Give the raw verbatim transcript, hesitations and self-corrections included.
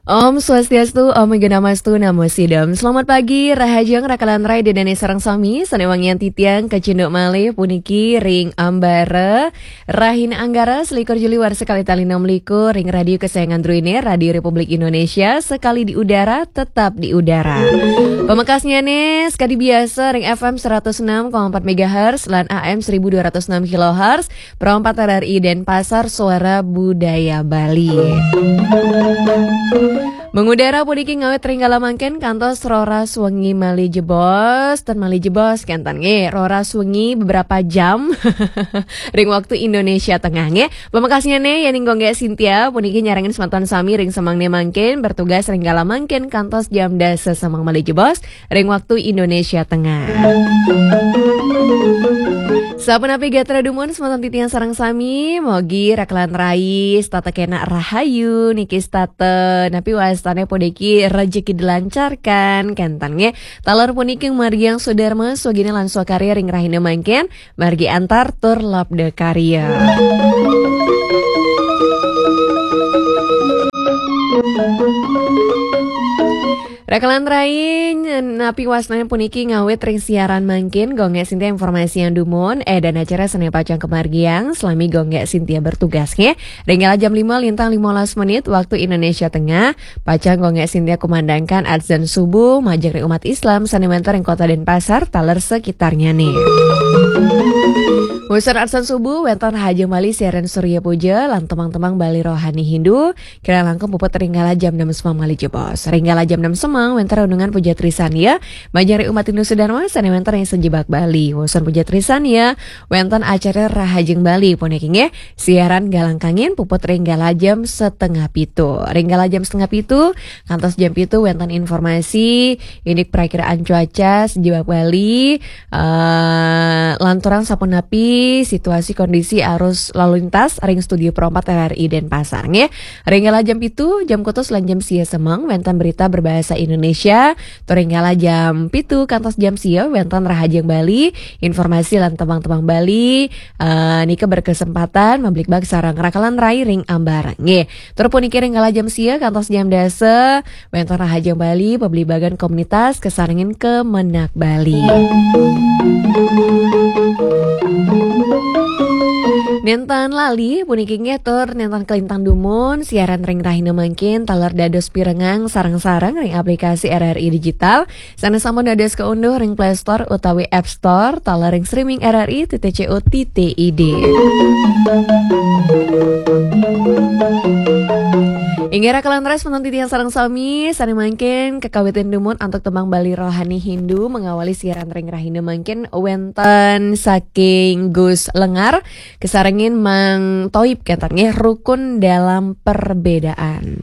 Om Swastiastu, Om Awighnamastu, Namo Sidham. Selamat pagi, rahajeng rakalan rai Ida dané sareng sami, sané wangian titiang kacunduk malih puniki ring ambara rahina Anggara selikur Juli warsa kalih tali enam likur ring radio kesayangan druéné, Radio Republik Indonesia, sekali di udara, tetap di udara. Pamekasnyané sekadi biasa ring F M seratus enam koma empat megahertz lan A M seribu dua ratus enam kilohertz, Pro empat R R I Denpasar, Suara Budaya Bali. Mengudara puniki ngawit ring kala mangkin kantos roras wengi malih jebos, ten malih jebos kénten nggih, roras wengi beberapa jam ring waktu Indonesia Tengah nggih. Pamekasnyané yéning Gung Gék Sintia puniki nyarengin semeton sami ring semangné mangkin bertugas ring kala mangkin kantos jam dasa semeng malih jebos ring waktu Indonesia Tengah. Sapunapi gatra dumun semeton titiang sareng sami, mogi rakalan rai setata kénak rahayu niki setata napi wastané puniki rejeki dilancarkan kénten nggih. Taler puniki margiang swadarma swaginan lan swakarya ring rahina mangkin, margi antar tur labda karya. Rakalan rai, napi wastané puniki ngawit ring siaran mangkin, Gung Gék Sintia informasiang dumun, édan acara sané pacang kamargiang, salami Gung Gék Sintia bertugas nggih. Ring kala jam lima lintang lima belas menit, waktu Indonesia Tengah, pacang Gung Gék Sintia kumandangkan adzan subuh, majeng ring umat Islam, sané wénten ring Kota Denpasar, taler sekitarnyané. Wusan adzan subuh, wénten rahajeng malih siaran Surya Puja, lan tembang-tembang Bali Rohani Hindu, kirang langkung puput ring kala jam enam semeng malih jebos. Ring kala jam enam semeng wénten renungan puja trisandia, majeng ring umat Hindu sedharma sané wénten ring sajebag Bali. Wusan puja trisandia, wénten acara Rahajeng Bali puniki nggih, siaran galang kangin puput ring kala jam setengah pitu. Ring kala jam setengah pitu, kantos jam pitu wénten informasi indik prakiraan cuaca sajebag Bali, eh, lanturang sapunapi situasi kondisi arus lalu lintas ring Studio Pro empat R R I Denpasar nggih. Ring kala jam pitu, jam kutus lan jam sia semeng wénten berita berbahasa Indonesia. Tur ring kala jam pitu kantos jam sia wénten Rahajeng Bali, informasi lan tembang-tembang Bali, eh, nika berkesempatan mabligbagan sareng rakalan rai ring ambara nggih. Tur puniki ring kala jam sia kantos jam dasa, wénten Rahajeng Bali, pabligbagan komunitas kasarengin Kemenag Bali. Nénten lali puniki nggih tur nénten kalintang dumun siaran ring rahina mangkin taler dados pirengang sareng-sareng ring aplikasi R R I Digital sané sampun dados kaunduh ring Play Store utawi App Store taler ring streaming R R I titik C O titik I D. Inggih rakalan rai semeton titiang sareng sami, sané mangkin kakawitin dumun antuk tembang Bali Rohani Hindu mengawali siaran ring rahina mangkin wénten saking Gus Lengar, kasarengin Mang Toib kénten nggih, Rukun Dalam Perbedaan.